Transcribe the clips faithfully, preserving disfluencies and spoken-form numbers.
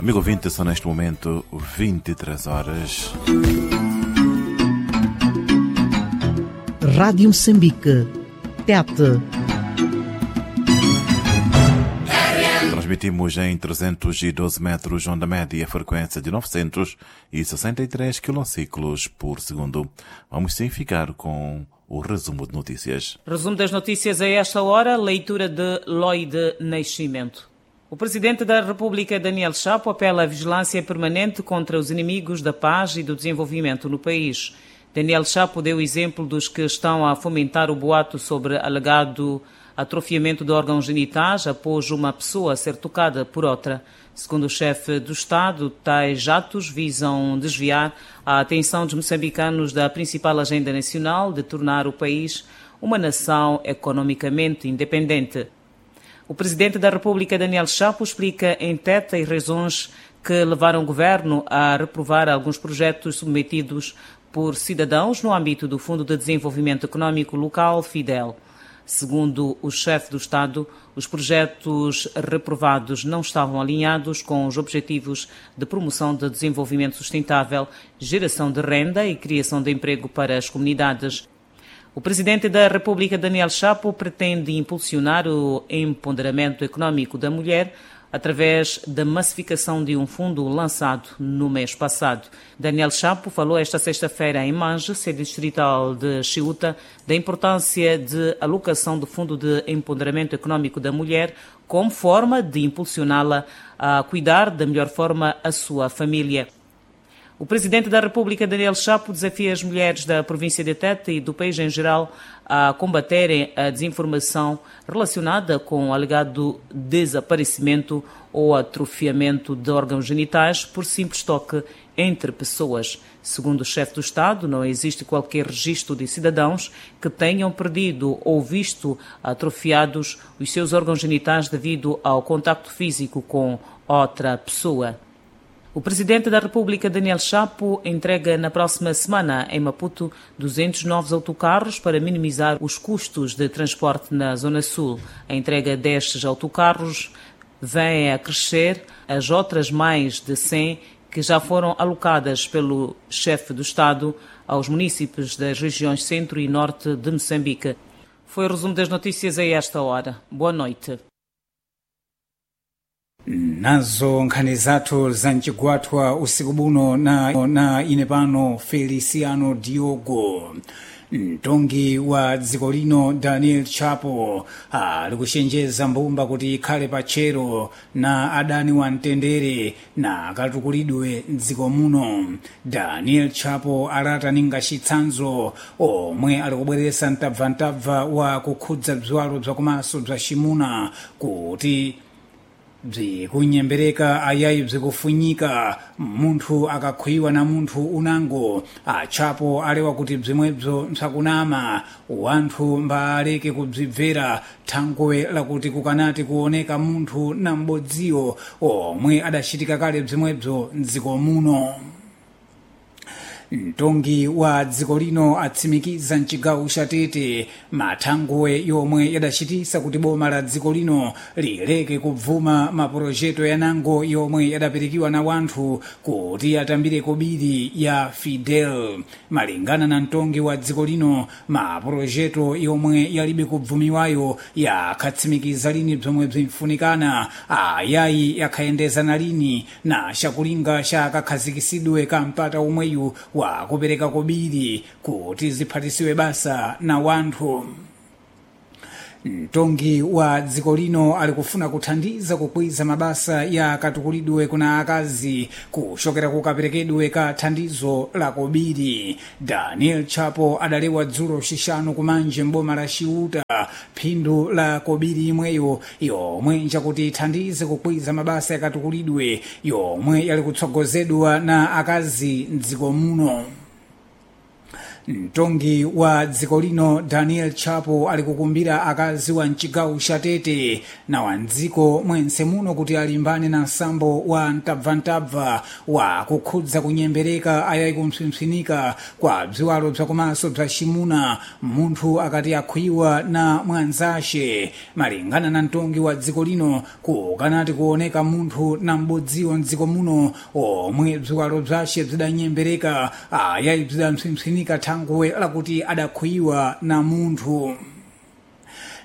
Amigo ouvinte, são neste momento vinte e três horas. Rádio Moçambique. Tete. Transmitimos em trezentos e doze metros, onda média, frequência de novecentos e sessenta e três quilociclos por segundo. Vamos sim ficar com o resumo de notícias. Resumo das notícias a esta hora, leitura de Lloyd Nascimento. O Presidente da República, Daniel Chapo, apela à vigilância permanente contra os inimigos da paz e do desenvolvimento no país. Daniel Chapo deu exemplo dos que estão a fomentar o boato sobre alegado atrofiamento de órgãos genitais após uma pessoa ser tocada por outra. Segundo o chefe do Estado, tais atos visam desviar a atenção dos moçambicanos da principal agenda nacional de tornar o país uma nação economicamente independente. O Presidente da República, Daniel Chapo, explica em Tete as razões que levaram o governo a reprovar alguns projetos submetidos por cidadãos no âmbito do Fundo de Desenvolvimento Econômico Local, FIDEL. Segundo o chefe do Estado, os projetos reprovados não estavam alinhados com os objetivos de promoção de desenvolvimento sustentável, geração de renda e criação de emprego para as comunidades. O Presidente da República, Daniel Chapo, pretende impulsionar o empoderamento econômico da mulher através da massificação de um fundo lançado no mês passado. Daniel Chapo falou esta sexta-feira em Mange, sede distrital de Chiuta, da importância de alocação do Fundo de Empoderamento Econômico da Mulher como forma de impulsioná-la a cuidar da melhor forma a sua família. O Presidente da República, Daniel Chapo, desafia as mulheres da província de Tete e do país em geral a combaterem a desinformação relacionada com o alegado desaparecimento ou atrofiamento de órgãos genitais por simples toque entre pessoas. Segundo o chefe do Estado, não existe qualquer registro de cidadãos que tenham perdido ou visto atrofiados os seus órgãos genitais devido ao contacto físico com outra pessoa. O Presidente da República, Daniel Chapo, entrega na próxima semana, em Maputo, duzentos novos autocarros para minimizar os custos de transporte na Zona Sul. A entrega destes autocarros vem a crescer as outras mais de cem que já foram alocadas pelo chefe do Estado aos municípios das regiões Centro e Norte de Moçambique. Foi o resumo das notícias a esta hora. Boa noite. Nazo nkhani zathu za mchigwathwa usiku buno na, na ine pano Feliciano Diogo. Mtongi wa dziko lino Daniel Chapo ali kuchenjeza mbumba kuti ikhale patchero na adani wa mtendere na akatukulidwe mdziko muno. Daniel Chapo alata ninga chitsanzo omwe ali kubweresa mtabvantabva wa kukhudza bziwalo bzakumaso bza ximuna kuti bzikunyembereka ayayi bzikufunyika munthu akakhwiwa na munthu unango. Achapo alewa kuti bzimwebzo mpsakunama, wanthu mbaleke kubzibvera thangwe lakuti kukanati kuoneka munthu na m'bodziyo omwe adachitika kale bzimwebzo mdziko muno. Mtongi wa dziko lino atsimikiza mchigawo cha Tete mathangwe yomwe yadachitisa kuti boma la dziko lino lileke kubvuma mapurojeto yanango yomwe yadapirikiwa na wanthu kuti atambire kobiri ya Fidel. Malingana na mtongi wa dziko lino, mapurojeto yomwe yalibe kubvumiwayo yakhatsimikiza lini bzomwe bzimfunikana, ayayi yakhayendezana lini na chakulinga cha kakhazikisidwe ka mpata omweyu wa kupereka kobiri kuti ziphatisiwe basa na wanthu. Mtongi wa dziko lino ali kufuna kuthandiza kukwiza mabasa ya katukulidwe kuna akazi kuchokera kukaperekedwe ka thandizo la kobiri. Daniel Chapo adalewa dzulo xixanu kumanje mboma la Chiuta phindu la kobiri imweyo yomwe njakuti ithandize kukwiza mabasa yakatukulidwe yomwe yali kutsogozedwa na akazi mdziko muno. Mtongi wa dziko lino Daniel Chapo ali kukumbira akazi wa mchigawo cha Tete na wa mdziko mwense muno kuti alimbane na msambo wa mtabvantabva wa kukhudza kunyembereka ayayi kumpsimpsinika kwa bziwalo bzakumaso bza ximuna munthu akati akhwiwa na mwanzaxe. Malingana na mtongi wa dziko lino, kukanati kuoneka munthu na m'bodziwo mdziko muno omwe bziwalo bzaxe bzidanyembereka ayayi bzidampsimpsinika thangwe lakuti adakhwiwa na munthu.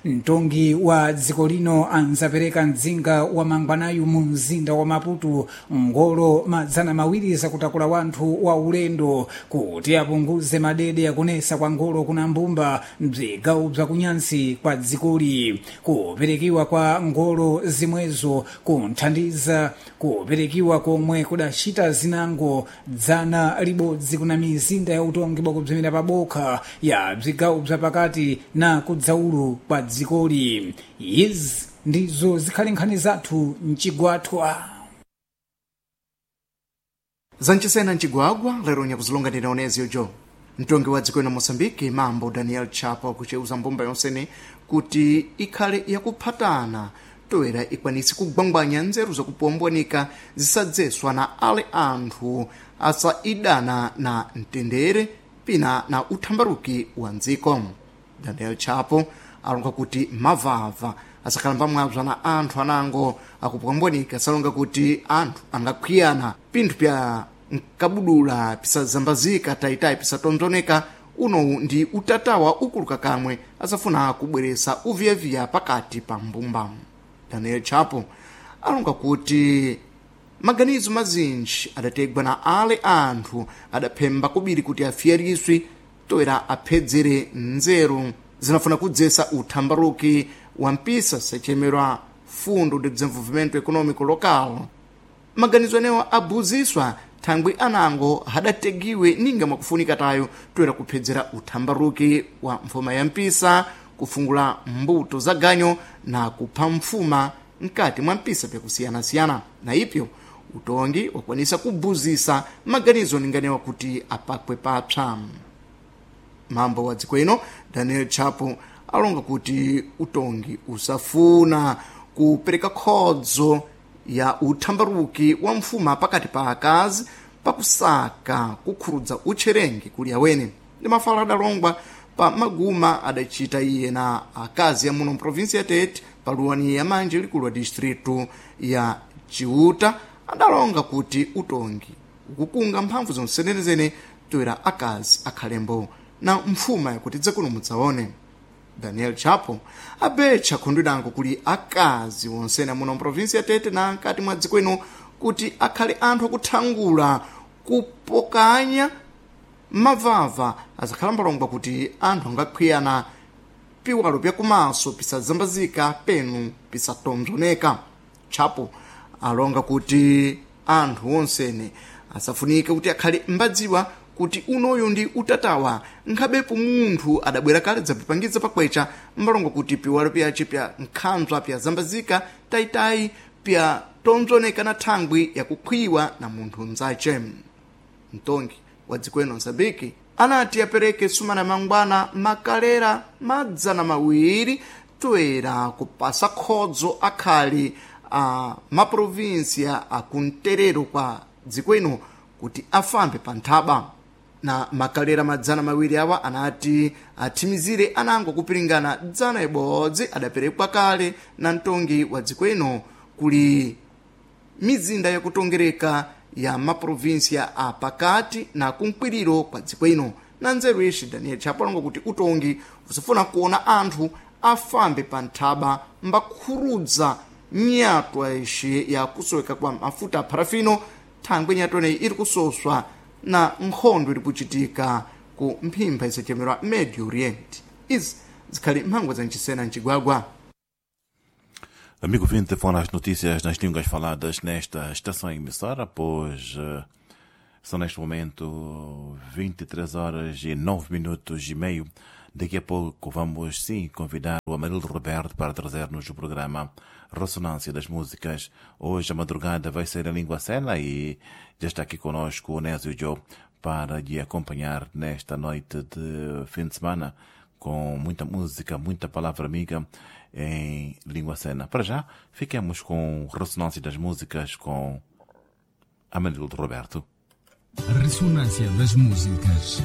Mtongi wa dziko lino anzapereka mdzinga wa mangwanayu mu mzinda wa Maputo ngolo madzana mawiri zakutakula wanthu wa ulendo kuti apunguze madede akunesa kwa ngolo kuna mbumba m'bzigawo bzakunyansi kwa dzikoli. Kuperekiwa kwa ngolo zimwezo kunthandiza kuperekiwa komwe kudacita zinango dzana libodzi kuna mizinda ya utongi bwakubzimira pabokha ya bzigawo bzapakati na kudzaulu kwa dzikoli. Izi ndizo zikhali nkhani zathu mchigwathwa. Zanchisena mchigwagwa lero nyakuzilonga ndina oneziyo jo. Mtongi wa dziko ino Moçambique mambo Daniel Chapo akucheuza mbumba yonsene kuti ikhale yakuphatana toera ikwanise kugwangwanya nzeru zakupombwanika zisadzeswa na ale anthu asaidana na mtendere pina na uthambaruki wa mdziko. Daniel Chapo alonga kuti mavava asakhalamba mwabza na anthu anango akupwambwanika asalonga kuti anthu angakhwiyana pinthu pya nkabudula pisazambazika tayitayi pisatonzoneka. Unowu ndi utatawa ukuluka kamwe asafuna kubweresa uviyaviya pakati pa mbumba. Daniel Chapo alonga kuti maganizo mazinji adategwa na ale anthu adaphemba kubiri kuti afiyariswe toera aphedzere nzeru zinafuna kudzesa uthambaruki wa mpisa sechemerwa Fundo de Desenvolvimento Econômico Local. Maganizo enewo abuziswa thangwi anango hadategiwe ninga mwakufunika tayo toera kuphedzera uthambaruki wa mfuma ya mpisa, kufungula mbuto za ganyo na kupha mfuma mkati mwa mpisa pyakusiyanasiyana. Na ipyo utongi wakwanisa kubuzisa maganizo ninganewa kuti apakwe papsa. Mambo wa dziko ino Daniel Chapo alonga kuti utongi usafuna kupereka khodzo ya uthambaruki wa mfuma pakati pa akazi pakusaka kukhurudza utcherengi kuli awene. Ndi mafala adalongwa pa maguma adachita iye na akazi ya muno mprovinsi ya Tete paluwani ya manje likulu wa distritu ya Chiuta adalonga kuti utongi ukukunga mphamvu zonsenerezene toera akazi akhalembo na mfuma yakuti dzakuno mudzaone. Daniel Chapo abetcha khundu kuli akazi wonsena muno mprovinsi ya Tete na nkati mwa dziko ino kuti akhale anthu akuthangula kupokanya mavava azakhala mbalongwa kuti anthu angakhwiyana piwalo pyakumaso pisazambazika penu pisatonzoneka. Chapo alonga kuti anthu onsene asafunike kuti akhale mbadziwa kuti unoyu ndi utatawa nkhabepo munthu adabwera kale dzapipangiza pakwecha mbalongo kuti piwalo pyace pya nkhanzwa pyazambazika tayitayi pya tonzoneka na thangwi yakukhwiwa na munthu mzace. Mtongi wa dziko ino Mozambique anati apereke sumana mangwana makalera madzana mawiri toera kupasa khodzo akhali a maprovinsia akumterero kwa dziko ino kuti afambe pa nthaba. Na makalera madzana mawiri awa anati athimizire anango kupiringana dzana ibodzi adaperekwa kale na mtongi wa dziko ino kuli mizinda yakutongereka ya maprovinsia a pakati na kumkwiriro kwa dziko ino. Na nzeru ixi Daniel Chapo alonga kuti utongi usafuna kuona anthu afambe pa nthaba mbakhurudza nyatwa ixi ya kusoweka kwa mafuta a parafino thangwi nyatwa ineyi iri kusoswa na nkhondo iri kuchitika ku mphimpha isachemerwa Medio Oriente. Izi zikhali mphangwa za mchisena mchigwagwa. Amigo vinte, foram as notícias nas línguas faladas nesta estação emissora, pois eh, são neste momento vinte e três horas e nove minutos e meio. Daqui a pouco vamos sim convidar o Amarildo Roberto para trazer-nos o programa Ressonância das Músicas. Hoje a madrugada vai ser em língua sena e já está aqui conosco o Nésio Joe para lhe acompanhar nesta noite de fim de semana com muita música, muita palavra amiga em língua sena. Para já, fiquemos com ressonância das músicas com Amanildo Roberto. Ressonância das músicas.